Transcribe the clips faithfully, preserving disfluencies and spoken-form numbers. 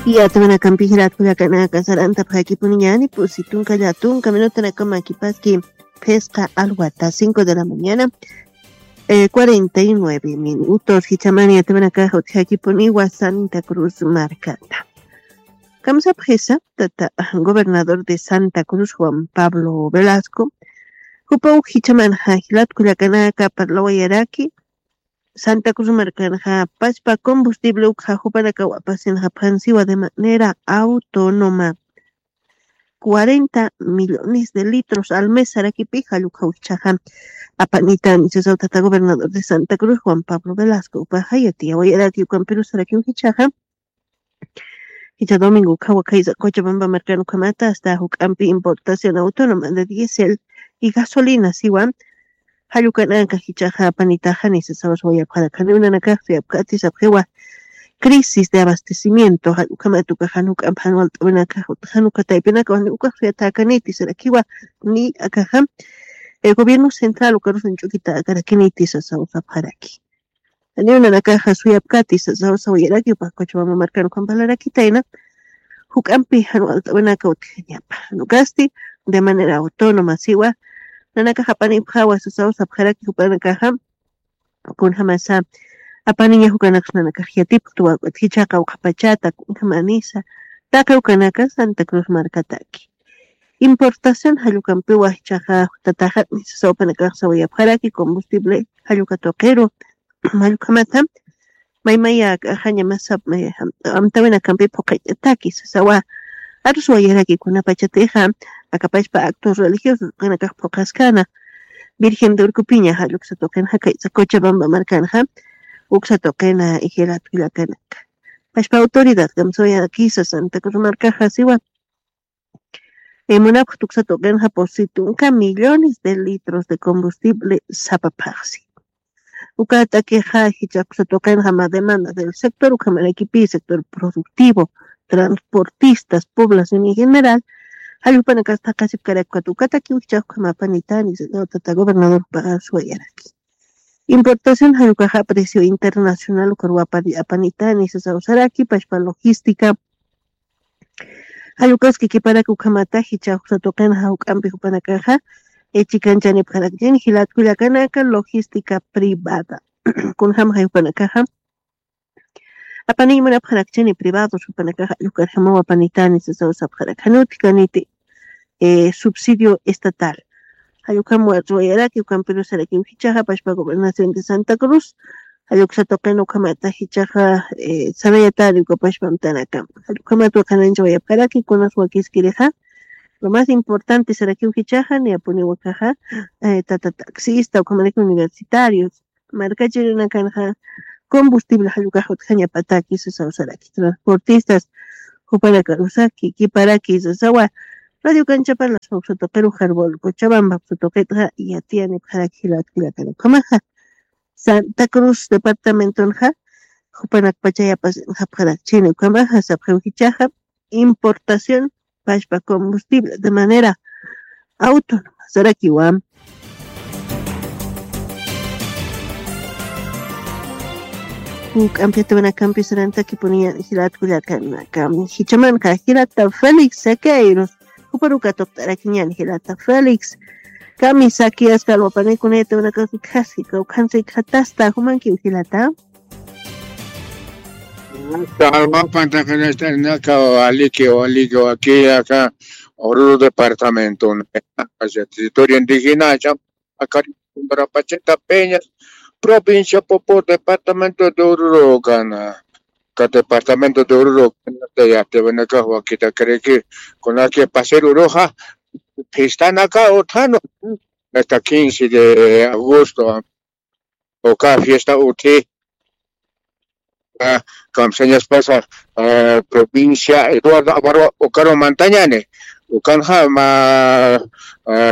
Yatawanakampi jilat kullakanaka sarantapxakipuniñani pusi tunka llatunka minutanakamakipaski. Phisqa alwata cinco de la mañana, eh, cuarenta y nueve minutos. Jichaman yatawanakaxa utjakipuniwa Santa Cruz markata. Kamsapxisa tata gobernador de Santa Cruz Juan Pablo Velasco, jupaw jichamanxa jilat kullakanaka parlawayaraki. Santa Cruz markanxa pachpa combustible ukxa jupanakaw apasinxa phansiwa de manera autónoma. Cuarenta millones de litros al mes sarakipi jallukxaw jichaxa apanitan sisawtata gobernador de Santa Cruz Juan Pablo Velasco upaxa yatiyawayaraki ukampiru sarakiw jichaxa. Jicha domingo ukhawa khaysa Cochabamba markan ukhamata hasta juk'ampi importación autónoma de diésel y gasolina siwa. Jallukananka jichaxa apanitaxani sisawaswayapxarakani unanakax suyapkati sapxiwa. Crisis de abastecimiento jallukhamata ukaxan juk'ampi jan walt'awinakax utxan uka taypinaka wani ukax suyatakaniti sarakiwa. Ni akaxa, eh, gobierno central ukarusun ch'ukita akarakiniti sisawasapxaraki. Niw nanakaxa suyapkati sasawsawayaraki upax Cochabamba markan ukham parlarakitayna. Juk'ampi jan walt'awinaka utjañapa nukasti de manera autónoma siwa. Nanakax apanipxawa sasawsapxaraki jupanakaxa. Kunjamasa apaniña jukanaksa nanakax yatipxtuwa utjichaqa uqhapachata kunjamanisa. Taqi ukanaka Santa Cruz markataki. Importación jallukampiwa jichaxa tataxatni sasawpanakax sawayapxaraki combustible jalluka tuqiru. Mallukhamata maymaya akaxaña masap amtawinakampi phuqañataki sasawa. Aruswayaraki kunapachatixa akapachpa actos religiosos qinakax phuqaskana. Virgen de Urkupiña jalluksa tuqinxa kaysa Cochabamba markanxa uksa tuqina ijilat kullakanaka. Pachpa autoridad kamsawayakisa Santa Cruz markaxa siwa. Munapxta uksa tuqinxa pusi tunka millones de litros de combustible sapaphaxsi. Uka t'akixa jichha uksa tuqinxa mä demanda del sector ukhamarakipi sector productivo, transportistas, población en general. Jallupanakas thaqasipkarakpat ukatakiw jichha ukhamapanitani tata gobernador pagaswayaraki. Importación jallukaxa precio internacional ukarwapari apanitani sasawsaraki pachpa logística. Jallukaski kiparaki ukhamata jicha uksa tuqinxa juk'ampi jupanakaxa. Chikanchani pharakchini jilat kullakanaka logística privada. Kunjamaxa jupanakaxa apaniñ munapxarakchini privados jupanakaxa jallukarjamawa apanitani sasawsapxarak januti kaniti. Subsidio estatal. Jallukam warruwayaraki ukampirusarakiw jichaxa pachpa gobernación de Santa Cruz. Jalluksa tuqin ukhamata jichaxa sarayatari uka pachpa amtanakam jallukhamat waqananchawayapxaraki kunas wakiskirixa. Lo más importante sarakiw jichaxa niyapuniwakaxa tata taxista ukhamaraki universitarios markachirinakanxa combustible jallukax utjañapataki sasawsaraki transportistas. Jupanakarusaki kiparaki sasawa. Radio kanchapalas uksa tuqiru jarbol Cochabamba uksa tuqitxa yatiyanipxaraki jilat kullakanakamaxa. Santa Cruz departamentonxa jupanakpachayapas japxarakchini ukamaxa sapxiw jichaxa. Importación pachpa combustible de manera autónoma sarakiwa. Juk'ampi yatawanakampi sarantakipuniñan jilat kullakanaka. Jichamanxa jilata Félix Sequeiros juparu katuqt'arakiñan jilata Félix. Kami sakiyaska alwapanikuna yatawanakax utjaski kawkhansa ikxatasta jumankiw jilata. Alwapan taqinastarnaka waliki waliki wakiyaka Oruro departamento territorio indígena. Acá Pacheta Peña, provincia Popo, departamento de Oruro, gana. Acá departamento de Oruro, gana, ya te ven acá, Joaquita Creque, con la que pasé Uroja, fiestana acá, Otano, hasta quince de agosto, o cada fiesta, uti, kamsañaspasa provincia Eduardo Abarwa ukaru mantañani. Ukanxa mä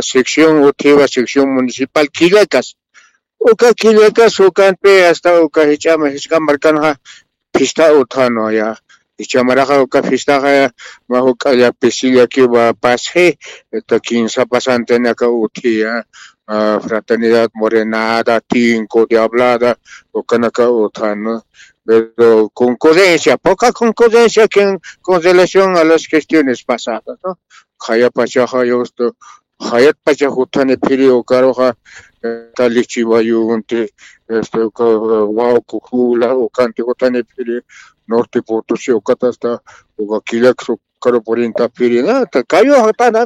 sección utjiwa sección municipal Quillakas. Uka Quillakas ukanpi hasta uka jich'ama jisk'a markanxa fiesta utjanu ya. Jich'amaraxa uka fiestaxa mä juk'a llapisilla kiwa pasxi, esta kinsa pasantinaka utjiya. Fraternidad Morenada, Tinco, Diablada, ukanaka utjanu. Pero concurrencia, poca concurrencia que con relación a las gestiones pasadas, ¿no? Jayapachaja, yo esto, jayatpacha jutani phiri ukaruja, eh, talichiwayunti, este, uka, wauku jula, ukanti jutani phiri, norte Potosí, ukatasta, uka kilak su, karu purinta phiri, na, ta kayu jatana,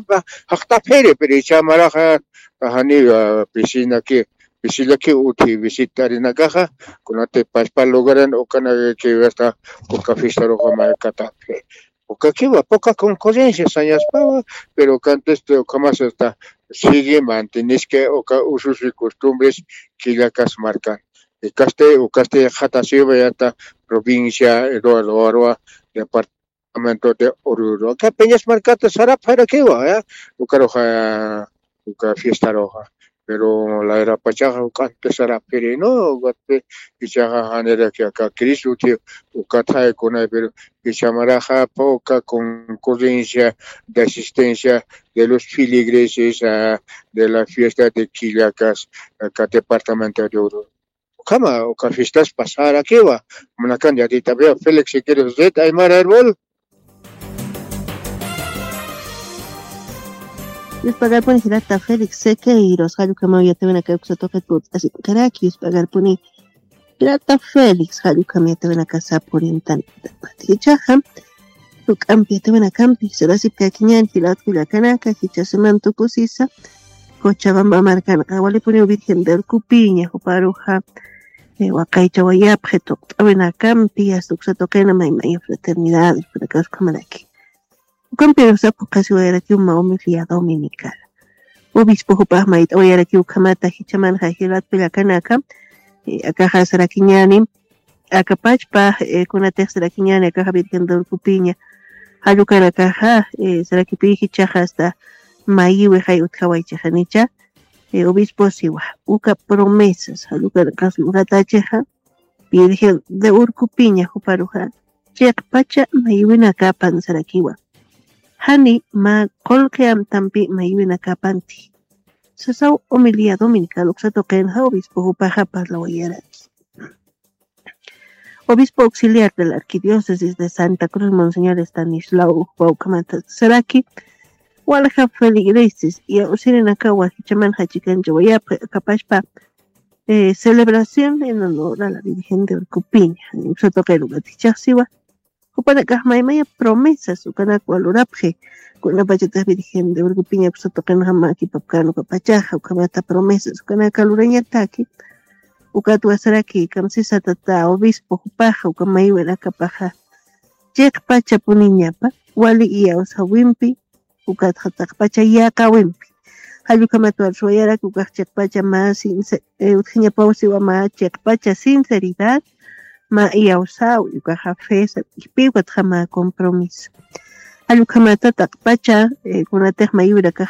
jaqta phiri, pero ichamaraja, tajani, ah, pisina que, pisila que uti visitarinakaja, kunati pachpa lugaran, ukana que hasta, uka fiesta roja markata phiri. Uka kiwa poca concurrencia sañaspawa, pero canteste uka más hasta sigue mantienes que uka usos y costumbres que la cas marcan. Ukaste, ukaste jatasiwa yata provincia Eduardo Arua, departamento de Oruro. Acá Peñas Marcata sarap jarakiwa, ¿ya? Ukaroja, uka fiesta roja. Pero la era pachaja, uka antes sarap, pero no, uka ichaja janera que acá Cristo, tío, uka thai con él, pero ichamaraja poca concurrencia de asistencia de los filigreses, ah, de la fiesta de Quillacas, acá departamento de Oruro. Ukhama, uka fiestas pasarakiwa, munakan yatita veo, Félix Siqueiros, Red Aymara Herbol. Yuspagarpuni jirata Félix Sequeiros, jallukama uyatawinaka uksa tuqit put'asikaraki, yuspagarpuni jirata Félix, jallukama uyatawinaka sapurintan. Jichaja, tuk'ampi uyatawinakampi, sarasipkakiñan, jilat kullakanaka, jichasiman tukusisa, Cochabamba markanqa, walipuniw Virgen de Urcupiña, juparuja, eh, waqaychawayapxi tuqt'awinakampi, hasta uksa tuqina maymaya fraternidad, ukhamaraki. Ukampirusa phuqhasiwayarakiw mä homilía dominical. Obispo jupax mayt'awayarakiw ukhamata jichamanxa jilat kullakanaka, eh, akaxa sarakiñani, akapachpa, eh, kunatix sarakiñani akaxa Virgen de Urcupiña, jallukanakaxa, eh, sarakipi jichaxa hasta mayiwi jay utjawaychixanicha, eh, obispo siwa, uka promesas, jallukanakax luratachixa, Virgen de Urcupiña juparuxa, chiqpacha mayiwinakapan sarakiwa. Jani mä qullqi amtampi mayiwinakapanti. Sasaw homilía dominical uksa tuqinxa obispo jupaxa parlawayaraki. Obispo auxiliar de la Arquidiócesis de Santa Cruz, Monseñor Estanislao Jupa ukhamata saraki, walja feligreses, iyawsirinakawa jichamanxa chikanchawayapxi, akapachpa, eh, celebración en honor a la Virgen de Urcupiña, uksa tuqin ukat jichhax siwa, jupanakax maymaya promesas ukanakwa lurapxi, kunapachatix Virgen de Urcupiña uksa tuqinxa mä kipapkän ukapachaxa, ukhamata promesas ukanaka lurañataki, ukatwa saraki kamsisa tata obispo jupaxa, uka mayiwinakapaxa, chiqpachapuniñapa, wali iyawsäwimpi, ukatxa taqpacha yäqäwimpi. Jallukhamat warsuwayarak ukax chiqpacha mä since-, eh, utjañapaw siwa mä chiqpacha sinceridad, mä iyawsäwi, ukaxa fe, sapipi ukatxa mä compromiso. Jallukhamata taqpacha, eh, kunatix mayiwirakaxa